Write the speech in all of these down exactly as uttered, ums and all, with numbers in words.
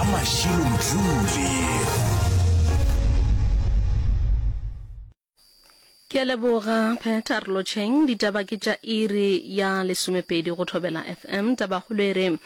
A Mashilo Mdluli. Ke a leboga Peter Lotšheng. Ditaba ke tša iri ya lesomepedi go Thobela F M. Tabakgolo e re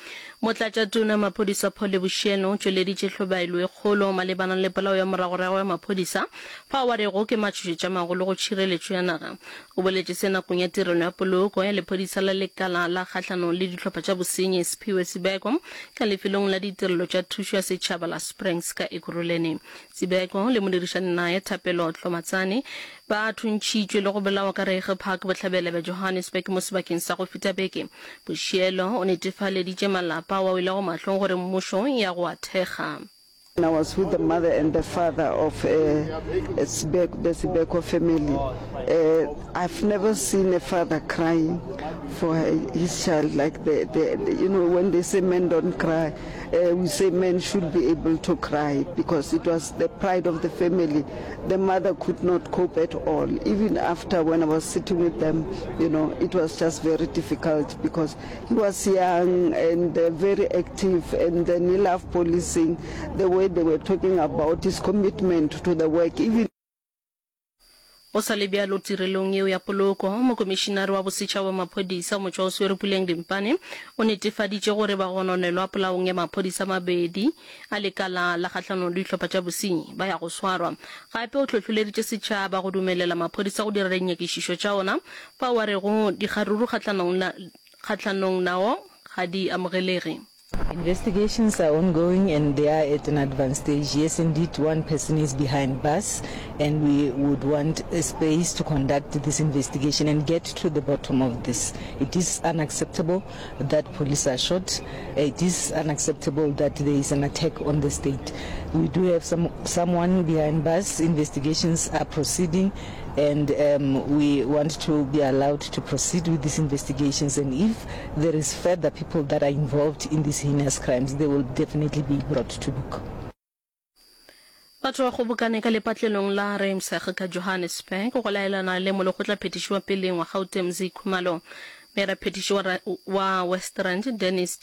Motlatšatona Maphodisa Paul Lebushielo o tšweleditše hlobaelo e kgolo malebana le polao ya moragorago ya maphodisa fao a rego ke matšhošetša magolo go tšhireletšo ya naga. O boletše se nakong ya tirelo ya poloko ya lephodisa la lekala la kgahlanong le dihlopha tša bosenyi Siphiwe Sibeko ka lefelong la ditirelo tša thušo ya setšhaba la Springs ka Ekurhuleni. Sibeko le modirišani naye Thapelo Tlomatsane ba thuntšhitšwe le go bolawa ka Reiger Park bohlabela bja Johannesburg mo sebakeng sa go feta beke. Boshielo o netefaleditše malapa ao a welego mahlong gore mmušo ya go a thekga. I was with the mother and the father of uh, Sibeko, the Sibeko family. Uh, I've never seen a father crying for his child like the, the, the you know, when they say men don't cry, uh, we say men should be able to cry because it was the pride of the family. The mother could not cope at all. Even after when I was sitting with them, you know, it was just very difficult because he was young and uh, very active and then he loved policing. The way they were talking about his commitment to the work, even Go sa le bjalo, tirelong yeo ya poloko, Mokomišinare wa Bosetšhaba wa Maphodisa, Motšwaoswere Puleng Dimpane, o netefaditše gore bagononelwa polaong ya maphodisa a mabedi a lekala la kgahlanong le dihlopha tša bosenyi ba ya go swarwa. Gape o hlohloleditše setšhaba go dumelela maphodisa go dira dinyakišišo tša ona fao a rego dikgaruru kgahlanong nao ga di amogelege. Investigations are ongoing and they are at an advanced stage. Yes, indeed, one person is behind bars and we would want a space to conduct this investigation and get to the bottom of this. It is unacceptable that police are shot. It is unacceptable that there is an attack on the state. We do have some someone behind bars. Investigations are proceeding and um, we want to be allowed to proceed with these investigations, and if there is further people that are involved in these heinous crimes, they will definitely be brought to book. Batho ba kgobokane ka lepatlelong la Ruimsig ka Johannesburg go laelana le molekgotlaphethiši wa peleng wa Gauteng Mzi Khumalo. Meyaraphethiši wa, wa West Rand Dennis